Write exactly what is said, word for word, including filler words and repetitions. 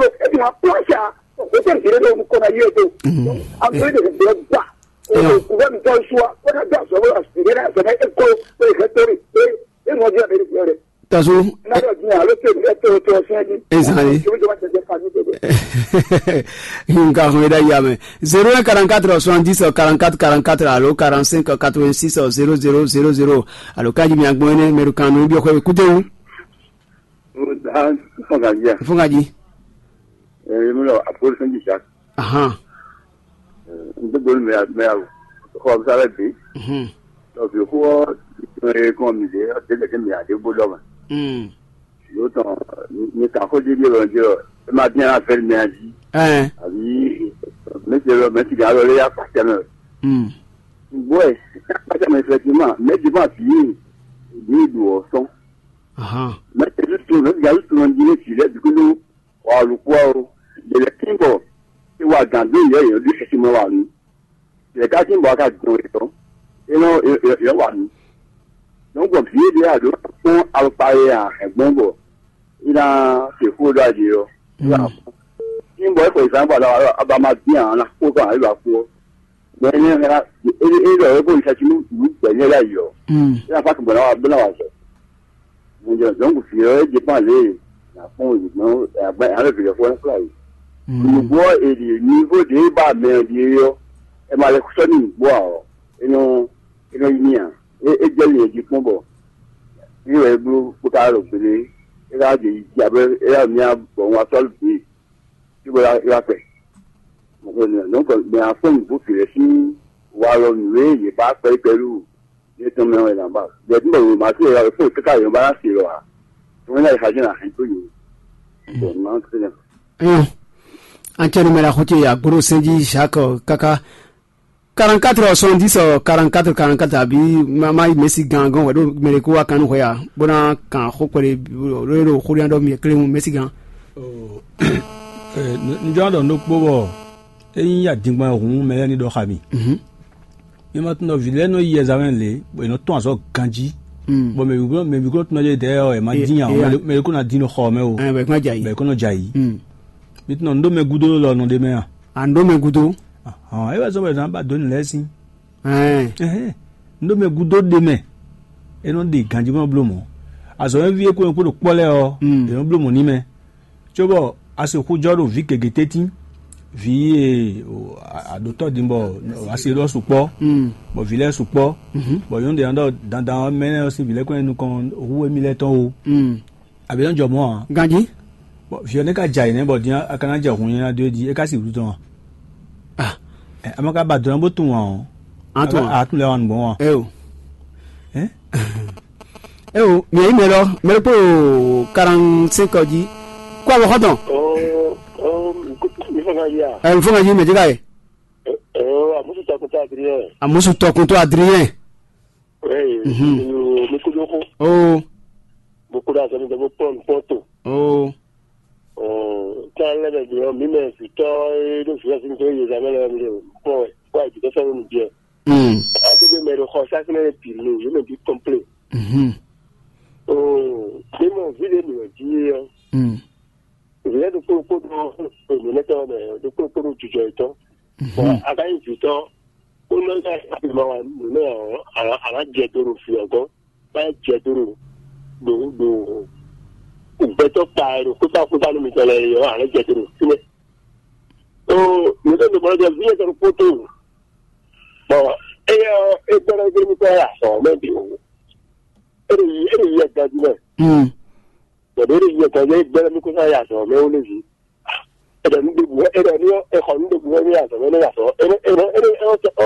bolo, e ti ma kpɔn sa, o tɛ n tere do ko na yie do. An tere de de gba. O ko gouvernement tɔn suwa, o na da zɔbɔ la, e na zɔbɔ e ko, e hɛ tori, e e mɔ di a bɛ de. Taso. Na dɔ di a lo te de to to sɛ di. Ezali. Nka hɔn da ya mɛ. Zéro un quarante-quatre soixante-dix quarante-quatre quarante-quatre alo quarante-cinq quatre-vingt-six zéro zéro zéro zéro. Alo kaji mi agbɔn ne mɛ kan no bi ko écoutez vous. Fɔngaji. Fɔngaji. Ɛɛ, mi lɔ apolo sɛnji sa. Ahan. N tó gbóni mɛ mɛ awo. Xɔ bisa lɛ bi. Mhm. Lɔ bi xɔ ɛ kɔn mi de de de mi ade bó dɔ ma. Mm. Yóò tɔn mi kan xó di bi lɔ jɔ. E ma bien affaire mɛ aji. Ɛɛ. Abi mɛ se lɔ mɛ ti ga lɔ le ya pa tɛmɛ. Mm. Bɔɛ, pa tɛmɛ effectivement, mɛ di ma bi bi du ɔ sɔn. Ahan. Mɛ ti du tu mɛ ti ga du tu lɔ di ne ti lɛ bi ko Wɔ alukpɔ́ ɔ́, yě lɛ́ tín bɔ é wa gǎn dó yě yě ɖo ɖi xɛsi mɛ wa nú. Yě ká tín bɔ a ka dɔn yě tɔn, é nɔ yě wa nú. Nɔ́ gbɔn vǐ e ɖě a ɖǒ kpɔ́n alɔkpa e a hɛn gbɔn bɔ é ná se xó ɖó aɖě ɔ́, é wá kpɔ́n. Tín bɔ é xɔ ìzán bɔ a ba ma dín ǎ ná kpó kɔ ǎ é wá kpó ɔ́. Mɛ énɛ́ hɛn ná é é ɖɔ é ko yi xɛsi nú nǔ gbɛ̌ nyɛ ɖ'ayǐ ɔ́, é ná fá kɛnbɔ ná wa bó ná wa zɔ. Mo jɛ zɔ̌n fi ɔ́ é jɛ kpán lě ná kpɔ́n wěgbɔn alɔ vǐ lɛ́ fɔ ná kplá yě. Nǔgbó ɔ́ è ɖi nívo ɖě ba mɛ ɔ́ ɖíe ɔ́, è ma lɛ sɔ́ n'i nǔgbó ǎ ɔ́, é nɔ é nɔ yi n'i ǎ. É é jɛ lě jí kpɔ́n bɔ é wɛ é bló bó ka ɖo gbélé é ka jɛ yi jí abɛ é yá mía bɔ un wá sɔ́ lǔ bǐ. Cóbɔ é wá kpɛ. Donc mɛ afɔ́n nǔgbó gěgé sín walɔ nǔ e yě ba kpɛ́ kpɛ́ ɖu yě tɔn mɛ wɛ ná ba. Bɛ̌ tí bɔ wěma sí ɛ̀yà fún ìkíkà yǒ bá ná se lɔ ǎ. Wọ́n náà ìhàjẹ́ náà hɛn tó yòó. Bọ̀ máa ń tẹ̀lé. Ɛn, an cɛ numɛ la xotse agbóɖó sɛnjí Jacques kaka quarante-quatre soixante-dix quarante-quatre quarante-quatre abi ma ma mesi gan gan wɛ ɖo mɛɖe kó wa kan nú hwɛ ya bó ná kan xó kpɛɖe ɖo ɖo xó ɖian ɖɔ mi kle mu mesi gan. Ɔ, ɛ, n-, n jɔ ɖɔ nɖokpó bɔ é nyí adingban hun mɛ lɛ́ɛ ní ɖɔ xa mi. Mhm. Mi ma tunɔ vǐ lɛ́ɛ nɔ yi ɛzamɛ lě, bɔ è nɔ tɔn azɔ̌ ganjí. Mm. Bɔ mɛ bǐ mɛ bǐ kó tunɔ jɛ dɛɛ ɔ, è ma Ye- dín nya o, ye- mɛ ɖé- mɛ ɖé kó ná dín nɔ xɔ mɛ o, Ɛ, bɛ kún jɛ ayi. Bɛ kó nɔ jɛ ayi. Mm. Mi tunɔ nɖó mɛ gúdo lɔ nɔ ɖe mɛ a? À ń ɖó mɛ gúdo. Ahɔn, é wɛ zɔ́n bɔ è nǎ ba dó nǔ lɛ́ɛ sín. Ɛn. Ɛhɛn, nɖó mɛ gúdo ɖe mɛ, é nɔ ɖe ganjí bɔ nɔ bló mɔ̌. Azɔ̌mɛví e kó nyɔ̌ kpó ɖo kpɔ́ lɛ́ɛ ɔ́, Mm. è nɔ bló mɔ̌ n'i mɛ. Cóbɔ a se xú jɔ ɖo vǐ gěgé tɛ́ntin, vǐ e o, a- a ɖo tɔ́ din bɔ a se ɖɔ sukpɔ́, Mm. bɔ vǐ lɛ́ɛ sukpɔ́, Mhm. bɔ nyɔ̌nu ɖě ná ɖɔ dandan ɔ́ mɛ énɛ́ ɔ́ sín vǐ lɛ́ɛ kɔn nyi nukɔn hú émí lɛ́ɛ tɔn o. Mm. Abǐ nɔ jɔ mɔ̌ ǎ. Ganjí. Bɔ vǐ ɔ́ nɛ́ ka jɛ ayǐ nɛ́ bɔ din a ka ná jɛ hun nyanya dó é jí, é ka si wǔ tɔn a? Ah. Ɛ, a ma ka ba dɔ̌n bó tunwun ǎ ɔ́, Á tunwun ǎ. A tunwun lɛ wa nǔgbɔn wa? Eo. Ɛ? Eo, mi yí mɛ lɔ, mɛ lɔ kpó quarante-cinq jí. Kó abɔ xɔtɔn. Oh, oh, mi fɔ ka ya. Ɛ, mi fɔ ka jí mɛ jɛ ka ye. Oh, amusu takuta Adrien. Amusu tɔkuntɔ Adrien. Hey, Mhm. Mi kudo ko. Oh. Mo kudo asɔmi dɛ mo pɔn pɔn to. Oh. Oh, kan lɛ bɛ bi mi mɛ fitɔ e do fia sin to ye zamɛ lɛ mi de pɔn. Wa bi to sɔmi mi biɛ. Mm. Ati de mɛ do xɔ sa kene de pili, ye mɛ bi kɔmple. Mhm. Oh, de mo vi de mi di yo. Mm. Vǐ lɛ́ɛ ɖokpó ɖokpó ɖó nǔnywɛ́tɔ́ mɛ, ɖokpó ɖokpó ɖó jijɔ yětɔn. Bɔ a ka nyí vǐtɔ́, bó nɔ nya ma wa nǔ nɛ ɔ́, a nǎ jɛ do ɖo vǐ ɔ́ gɔ́n, bá jɛ do ɖo ɖo ɖo gbɛtɔ́ kpa e ɖo kpékpá kpékpá nú mitɔn lɛ́ɛ é ɔ́, a nǎ jɛ do ɖo fínɛ́. Ɖo nǔ ɖé ɖo mɔ jɛ vǐ yɛtɔn ɖokpó tó. Bɔ éyɛ́ ɔ́, é gbɛ́ ɖɔ é gbé nukɔn wá yi azɔ̌ mɛ bǐ wú. É ɖo yi é ɖo yi yɛ ganjí mɛ. Mm. Bɔ ɖě ɖo yi yɛ ganjí é gbɛ́ ɖɔ mí kó ná yi azɔ̌ mɛ wú nú vǐ. È ɖɔ nǔ ɖěbǔ wɛ, è ɖɔ nú è xɔ nǔ ɖěbǔ wɛ nú azɔ̌ wɛ nú azɔ̌. È nɔ è nɔ è nɔ è nɔ dó ta